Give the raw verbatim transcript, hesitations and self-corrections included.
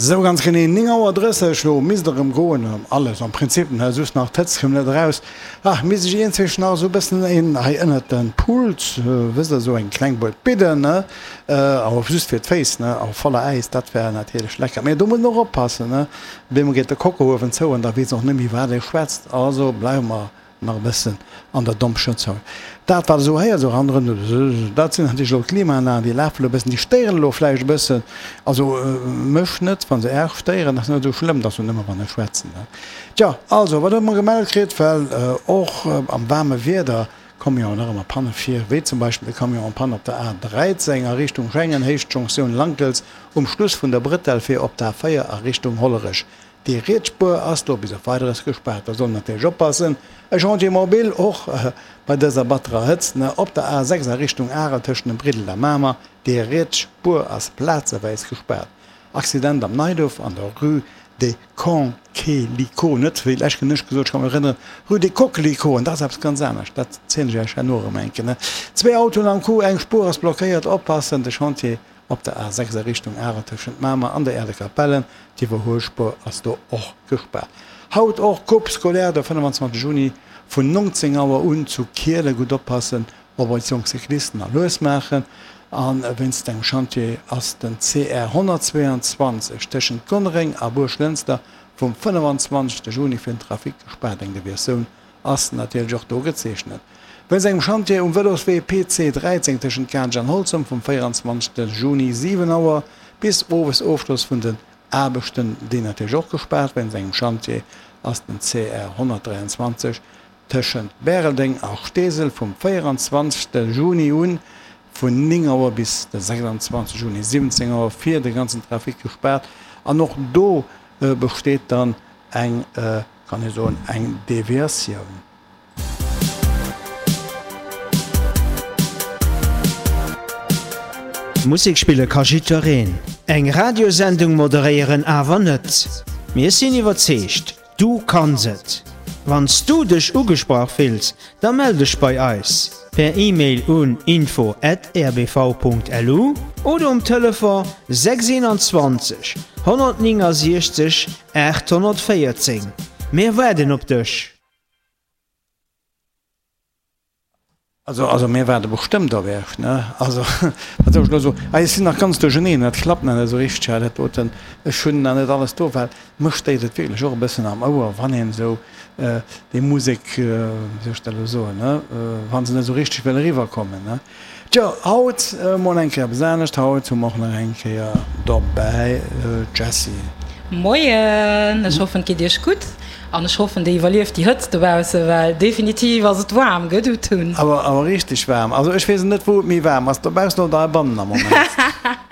Sou ganz genee néng Auer drësseg, lo misst erëm goen, alles am Prinzip, ne, just nach d'Hëtzt kënnt net eraus. Ach, misst ech iergendwéi nach esou e bëssen een hei ënnert den Pult, wësst der, esou eng kleng Buet bidden, ne, awer just fir d'Féiss, ne, a voller Äis, dat wär natierlech lecker. Mee do muss een och oppassen, ne, op eemol geet de Kockuewen zou an da weess een och net méi wat ee schwätzt. Also bleiwe mer Nach e bëssen an der Dompschëtzung. Dat wat esou héiert, esou ronderëm, dat sinn natierlech elo d'Klimaanlagen, déi lafen elo e bëssen, déi stéieren elo vläicht e bëssen. Also mech net, wa se Iech stéieren, ass net esou schlëmm, dat ass jo nëmme wann ech schwätzen. Tjo, also wat hu mer gemellt kritt, well och am waarme Wieder komme jo nach ëmmer Panne vir, wéi zum Beispill de Camion en panne op der A dräizéng a Richtung Schengen, Héicht Jonktioun Lankels, um Schluss vun der Bretelle fir op d'A véier a Richtung Hollerech. Déi riets Spuer ass do bis op Weideres gespaart. Da soll een natierlech oppassen. E Chantier mobile och bei dëser batterer Hëtzt op der A sechs a Richtung Arel tëschent dem Briddel a Mamer. Déi riets Spuer ass plazeweis gespaart. Accident am Neiduerf an der Rue des Conquelicots, net wéi lech ech gesot, ech ka mech erënneren, Rue des Coquelicots, an dat ass eppes ganz anescht, dat zielen ech Iech herno erëm eng Kéier. Zwee Autoen am Coup, eng Spuer ass blockéiert, oppassen, de Chantier Op der A sechs a Richtung Arel tëschent Mamer an der Äerdekapellen, d'Iwwerhuelspuer ass do och gespaart. Haut och Coupe scolaire de fënnefanzwanzeg Juni vun nongzéng Auer un zu Kielen. Gutt oppassen op eis jonk Cyclisten a lues maachen. A wéinst engem Chantier ass den C R honnertzweeanzwanzeg tëschent Gonnereng a Buerglënster vum fënnefan-zwanzegste Juni fir den Trafic gespaart. Eng Deviatioun ass natierlech och do gezeechnet. Wéinst engem Chantier um Vëloswee P C dräizéng tëschent Kaansch an Holzem vum véieranzwanzegste Juni siwen Auer bis owes Ofschloss vun den Aarbechten, deen natierlech och gespaart. Wéinst engem Chantier ass den C R honnertdräianzwanzeg tëschent Bäreldeng a Steesel vum véieranzwanzegste Juni un vun néng Auer bis de sechsanzwanzeg Juni siwwenzéng Auer fir de ganzen Trafic gespaart an och do besteet dann eng, kann ee soen, eng Deviatioun. Musek spille ka jiddwereen, eng Radiosendung moderéieren awer net. Mir sinn iwwerzeegt, du kanns et! Wann s du dech ugesprach fills, da mell dech bei eis per E-Mail un info at R B V punkt L U oder um Telefon sechs einundzwanzeg honnertnéngasiechzeg aathonnertvéierzéng. Mir waarden op dech! Also, also mir waarde bestëmmt op Iech, ne? Also, wat soll ech elo soen? Ah, ech sinn nach ganz duercherneen, dat klappt nach net esou richteg hei, dat doten. Ech hunn nach net alles do, well mech stéiert et wierklech och e bëssen am Ouer, wann een esou déi Musek, wéi soll ech dat elo soen, ne, wa se net esou richteg wëll eriwwerkommen, ne? Tjo, haut emol eng Kéier eppes anescht. Haut hu mer och nach eng Kéier dobäi d'Jessie. Moien, ech hoffen et geet iech gutt an ech hoffen dir iwwerlieft déi Hëtzt dobausse, well definitiv ass et waarm, gëtt Uthun. Awer awer richteg waarm. Also ech weess net wou et méi waarm ass, dobaussen oder heibannen am Moment.